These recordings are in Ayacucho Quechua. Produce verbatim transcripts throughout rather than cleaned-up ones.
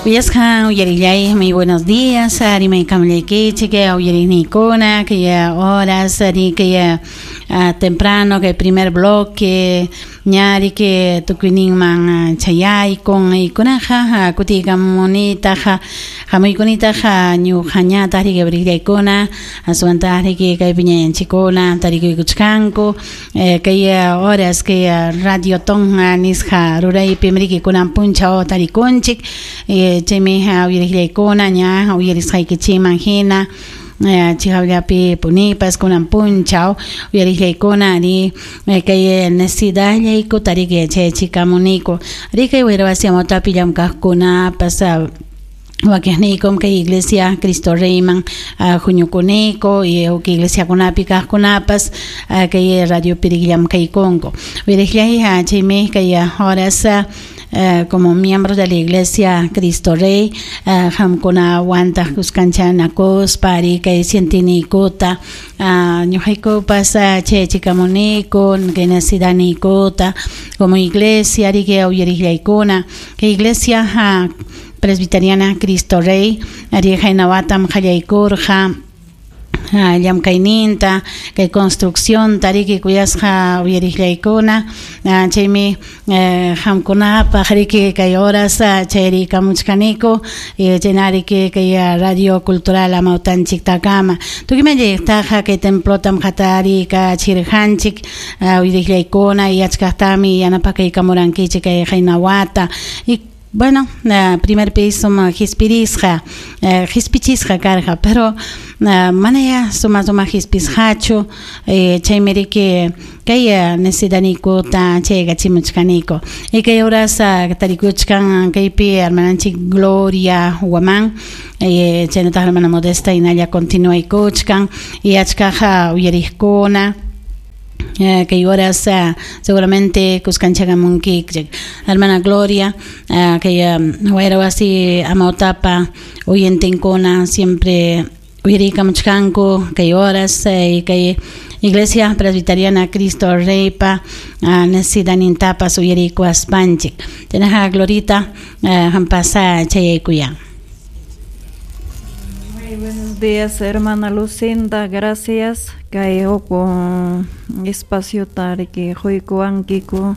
Uyasqa uyarillay, muy buenos días, rimaykamullaykichik, uyariqniykuna, kay horas, kay temprano, kay primer bloque, ñari que tukuyninman chayaykun, ykunaqa kutiykamunitaqa, hamuykunitaqa ñuqañataq riki brillaykuna, aswantaq riki kaypi ñañanchikkuna tarikuykuchkanku, kay horas kay Radio Ton nisqa ruraypim riki kunan punchaw tarikunchik, chaymi uyariqllaykuna ña uyarisqaykichikman hina chihawllapi punipas kunan punchaw uyariqllaykuna ari kay necesidadllayku tariki chayachikamuniku ari kay wayrawasi Amawtapi llamkaqkunapas wakiqniykum kay iglesia Cristo Reyman huñukuniku y huk iglesiakunapi kaqkunapas kay radiopi llamkaykunku uyariqllay chaymi kay horas Uh, como miembros de la Iglesia Cristo Rey, hamkuna wantaq kuskanchanakuspa ari kay sientiniykuta ñuqaykupas chayachikamuniku kay necesidadniykuta como iglesia ari kay uyariqllaykuna kay iglesia presbiteriana Cristo Rey ari haynawatam qallaykurqa llamkayninta kay construcción tariki kuyasqa uyariqllaykuna chaymi hamkunapaq riki kay horas chayrikamuchkaniku chaynariki kay radio cultural amawtanchiktakama tukuyman kay templotam hatarikachirqanchik uyariqllaykuna y achkaqtami yanapakaykamurankichik kay haynawata y bueno, primer piso hispirisqa, hispichisqa karqa, pero manaya suma suma hispisqachu, chaymi riki kay necesidadniykuta chaykachimuchkaniku. Y kay horas tarikuchkan kaypi hermananchik Gloria Huamán, chaynataq hermana Modesta hinalla continuaykuchkan y achkaqa uyariqkuna. Kay horas seguramente kuskanchakamunkichik hermana Gloria kay wayrawasi amawtapa oyentinkuna siempre uyarikamuchkanku kay horas kay Iglesia Presbiteriana Cristo Reypa necesidadnintapas uyarikuaspanchik chaynaqa Glorita hampasa chayaykuyan. Muy buenos días, hermana Lucinda, gracias. Kay huk espacio tariki quykuwankiku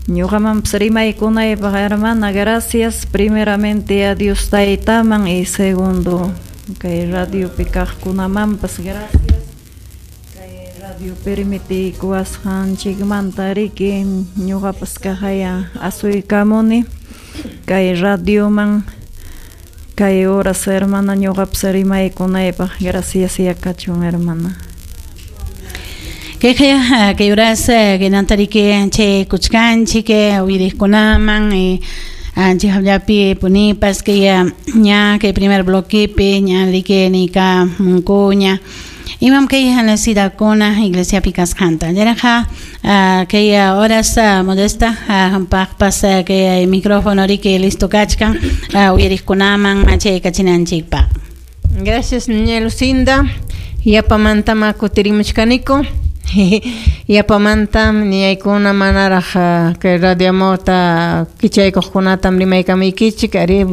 ñuqamanpas rimaykunaypaq, hermana, gracias. Primeramente a Dios Taytaman y segundo kay radiopi kaqkunamanpas gracias. Kay radio permitiykuwasqanchikmanta riki ñuqapas kaqaya asuykamuni kay radioman kay horas, hermana, ñuqapas rimaykunaypaq. Gracias ya kachun, hermana. Kay kay horas kinantariki chay kuchkanchik uyariqkunaman y chihawllapi punipas kay ña kay primer bloquepi ña riki nika munkuña imam kay necesidadkuna iglesiapi kasqanta chaynaqa kay horas Modesta hampaqpas kay micrófono riki listo kachkan uyariqkunaman chaykachinanchikpaq. Gracias, niña Lucinda. Yapamantama kutirimuchkaniku. Yapamantam niñaykuna manaraq kay radio Amawta kichaykuqkunatam rimaykamuykichik ari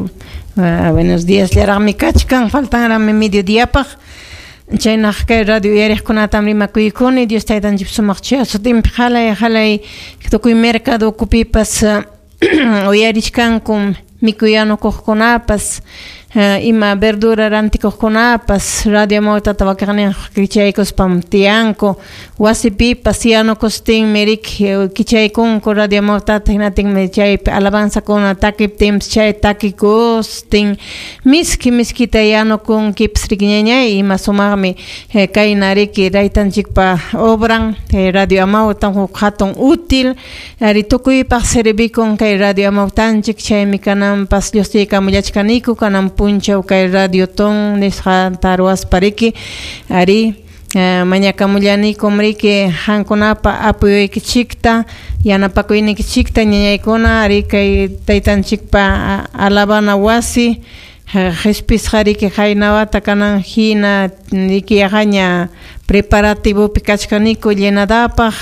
buenos días llaraqmi kachkan faltanraqmi mediodiapaq chaynaq kay radio uyariqkunatam rimakuykuni Dios taytanchik sumaq chuya sutinpi qalay qalay tukuy mercado ukupipas uyarichkankum mikuyanukuqkunapas ima verdura rantikuqkunapas radio Amawtata wakiqninqa kichaykuspam tiyanku wasipipas yanukustinmi riki kichaykunku radio Amawtata hinatinmi chaypi alabanzakuna takiptinpas chay takikustin miski miskita yanukunkipas riki ñañay ima sumaqmi kayna riki raytanchikpa obran radio Amawta huk hatun útil ari tukuypaq servikun kay radio Amawtanchik chaymi kananpas lluqsiykamullachkaniku kanan punchaw kay radio ton nisqanta ruwaspa riki ari mañakamullanikum riki qamkunapa apoyoykichikta yanapakuynikichikta ñañaykuna ari kay taytanchikpa alabana wasi qhispisqa riki qaynawata kanan hina riki yaqaña preparativopi kachkaniku llenadapaq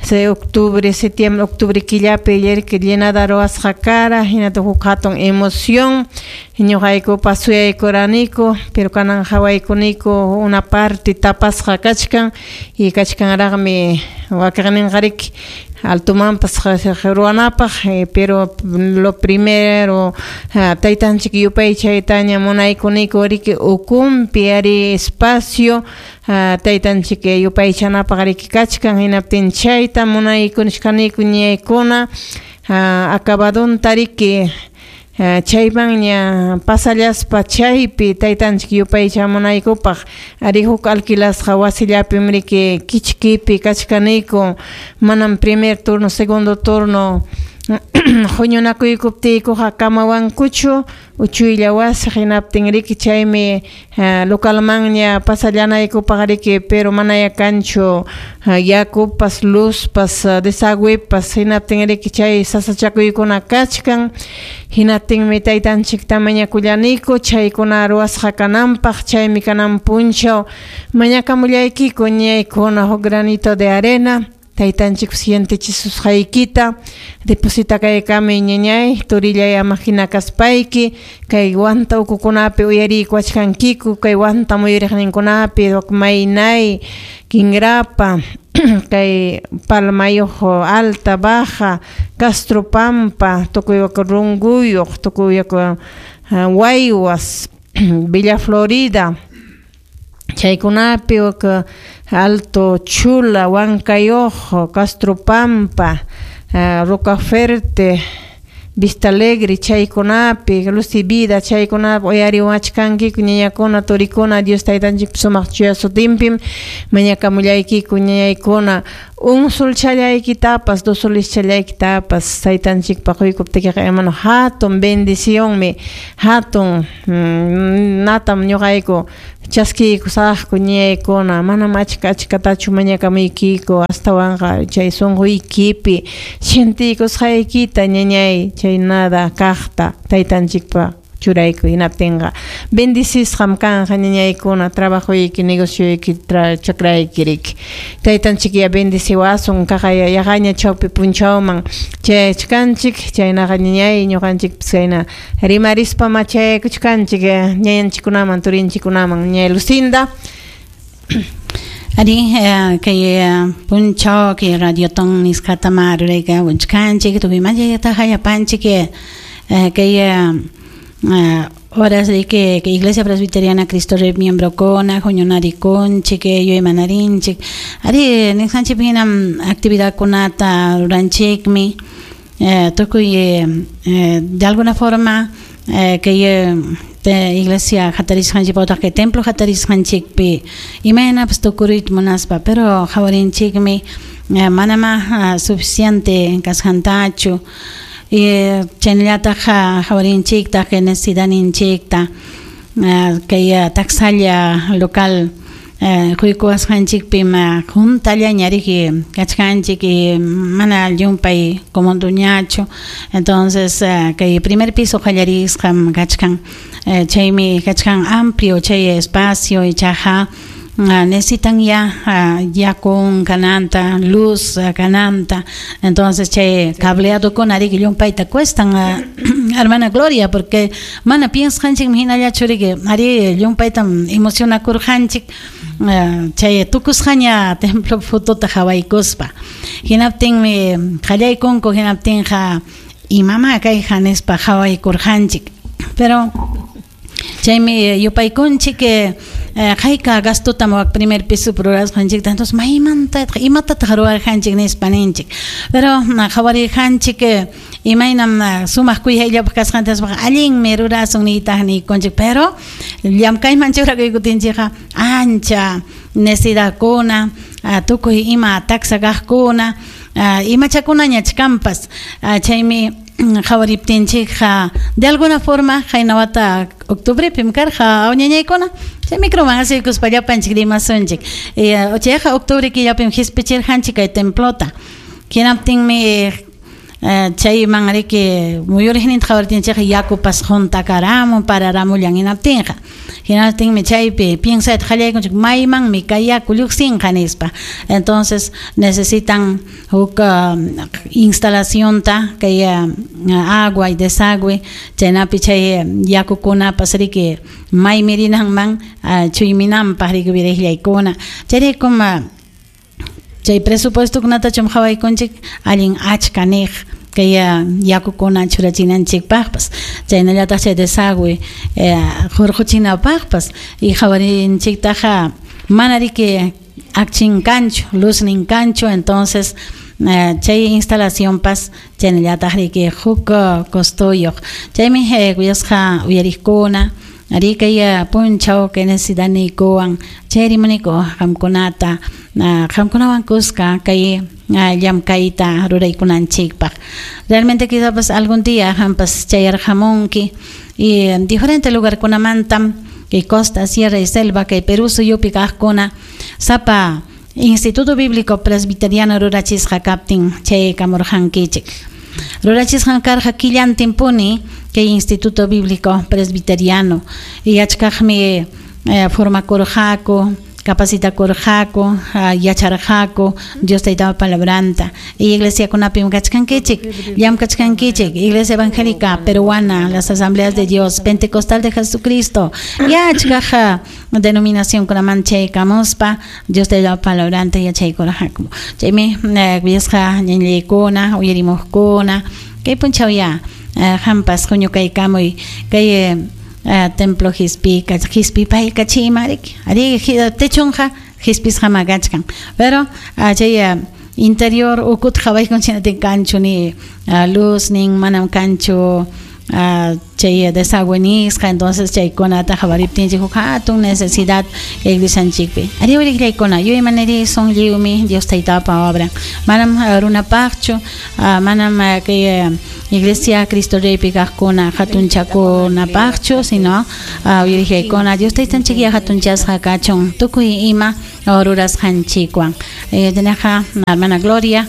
Se octubre, septiembre, octubre killapi riki llenada ruwasqa kara, hinataq huk hatun emoción, ñuqaykupas suyaykuraniku, pero kanan hawaykuniku una parte tapasqa kachkan y kachkanraqmi wakiqninqa altomanpas ruwanapaq, pero lo primero taytanchik yupaychaytaña munaykuniku riki ukumpi ari espacio taytanchik yupaychanapaq riki kachkan, hinaptin chayta munaykunishkaniku ñaykuna acabadunta riki chaymanña pasallaspa chaypi taytanchik yupaychamunaykupaq ari huk alquilasqa wasillapim riki kichkipi kachkaniku, manam primer turno, segundo turno huñunakuykuptiykuqa kamawankuchu uchuylla wasi, hinaptin riki chaymi localmanña pasallanaykupaq riki, pero manaya kanchu yakupas, luzpas, desagüepas, hinaptin riki chay sasachakuykuna kachkan, hinaptinmi taytanchikta mañakullaniku chaykuna ruwasqa kananpaq, chaymi kanan punchaw mañakamullaykiku ñaykuna huk granito de arena taytanchik sientichisusqaykita depositakaykami ñañay turillay ama hina kaspayki kay wanta ukukunapi uyariykuwachkankiku kay wanta muyuriqninkunapi maynay Quingrapa kay Palmayuq alta baja Castro Pampa tukuy Runguyuq tukuy Waywas Villa Florida chaykunapi Alto Chula, Huancayojo, Castro Pampa, uh, Rocaferte, Vista Alegre, chaykunapi, Luz y Vida, chaykunapi uyariwachkankiku ñañakuna, turikuna, Dios taytanchik sumaq chuya sutinpim mañakamullaykiku ñañaykuna, un solchallaykitapas, dos solischallaykitapas taytanchikpaq quykuptikiqa hermano hatun bendicionmi, hatun mm, natam ñuqayku chaskiykusaqku ñaykuna, manam achka achkatachu mañakamuykiku astawanqa chay sunquykipi sientiykusqaykita ñañay chay nada kaqta taytanchikpa churayku, hinaptinqa bendicisqam kanqa ñañaykuna trabajoyki, negocioyki, chakrayki riki taytanchik ya bendiciwasun kaqaya yaqaña chawpi punchawman chayachkanchik, chaynaqa ñañay ñuqanchikpas chayna rimarispa machaykuchkanchik ñañanchikkunaman turinchikkunaman ñañay Lucinda. Ari kay punchaw kay radioton nisqata rurayka wachkanchik tukuy mayata hayapanchik kay horas de que, que Iglesia Presbiteriana Cristo Rey miembro kona huñunarikunchik yuymanarinchik ari nisqanchik hinam actividad kunata ruranchikmi tukuy de alguna forma que te iglesia hatarisqanchik otaq kay templo hatarisqanchikpi imaynapas tukuruyta munaspa pero hawarinchikmi manama suficiente kasqantachu chaynallataq hawarinchiktaq kay necesidadninchikta kay taksalla local quykuwasqanchikpim juntallaña riki kachkanchik mana llumpay comunduñachu, entonces kay primer piso qallarisqam kachkan chaymi kachkan amplio chay espacio ichaqa necesitan ya yakun kananta, luz kananta, entonces chay cableado con riki llumpayta cuestan hermana Gloria porque mana piensqanchikmi hinallachu riki ari llumpaytam emocionakurqanchik chay tukusqaña templo fotota hawaykuspa hinaptinmi qallaykunku hinaptinqa imama kayqa nispa hawaykurqanchik pero chaymi yupaykunchik hayka gastotam wak primer piso rurasqanchikta entonces maymanta imatataq ruwarqanchik nispa ninchik pero hawarirqanchik imaynam sumaq kuyayllapaq kasqanta allinmi rurasun niytaq niykunchik pero llamkayman churakuykutinchikqa ancha necesidadkuna tukuy ima taksa kaqkuna imachakunaña chkanpas chaymi hawariptinchikqa de alguna forma haynawata octubrepim karqa ñañaykuna chay microman asuykuspa llapanchik rimasunchik chayqa octubre killapim hispichirqanchik kay templota hinaptinmi chayman riki muyuriqninta hawariptinchikqa yakupas juntakaramun pararamullan hinaptinqa Hinaptinmi chaypi piensayta qallaykunchik maymanmi kay yaku lluqsinqa nispa. Entonces necesitan huk uh, instalacionta kay uh, agua y desagüe chaynapi chay yakukunapas riki maymi rinanman uh, chuyminanpaq riki wiraqllaykuna. Chayraykum uh, chay presupuestokunatachum qhawaykunchik allin achka niq kay yakukuna churachinanchikpaqpas chaynallataq chay desagüe hurquchinapaqpas y qhawarinchiktaqa mana riki akchin kanchu luznin kanchu entonces chay instalacionpas chaynallataq riki huk costoyuq chaymi kuyasqa uyariqkuna ari kay punchaw kay necesidadniykuwan chay rimaniyku qamkunata qamkunawan kuska kay llamkayta ruraykunanchikpaq. Realmente quizás algún día qampas chayarqamunki y diferente lugarkunamantam kay costa, sierra y selva kay Perú suyupi kaqkuna sapa Instituto Bíblico Presbiteriano rurachisqa kaptin chaykamurqankichik. Rurachisqan karqa killantinpuni kay Instituto Bíblico Presbiteriano y achkaqmi eh, formakurqaku capacitakurqaku yacharqaku Dios taytapa palabranta y iglesiakunapim kachkankichik llamkachkankichik Iglesia Evangélica Peruana, las Asambleas de Dios Pentecostal de Jesucristo y achkaq denominacionkunaman chaykamuspa Dios taytapa palabranta yachaykurqaku. Chaymi kuyasqa ñañaykuna uyarimuqkuna kay punchaw ya qampas huñukaykamuy kay Uh, templo hispi hispi paykachima riki ari techunqa hispisqa kachkan pero uh, chay uh, interior ukut qhawaykunchik chinatin kanchu ni uh, luz nin manam kanchu uh, chay desagüe nisqa entonces chaykunata qhawariptinchik huk hatun necesidad iglesianchikpi ari wiriqllaykuna yuyaymanari son lliwmi Dios taytapa obra manam uh, runapaqchu uh, manam uh, kay uh, Iglesia Cristo Reypi kaqkuna hatunchakunapaqchu sino uh, uyariqllaykuna Dios taytanchik ya hatunchasqa kachun tukuy ima rurasqanchikwan. Eh, tenaqa hermana Gloria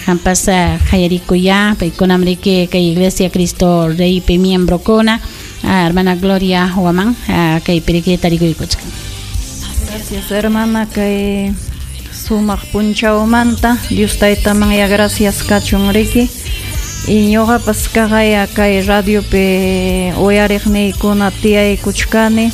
qampas uh, qayarikuya paykunam riki kay Iglesia Cristo Reypi miembrokuna uh, hermana Gloria Huamán uh, kaypi riki tarikuykuchkan. Gracias hermana kay sumaq punchawmanta Dios taytaman ya gracias kachun riki. Y ñuqapas kaqaya kay radiopi uyariqniykuna tiyaykuchkani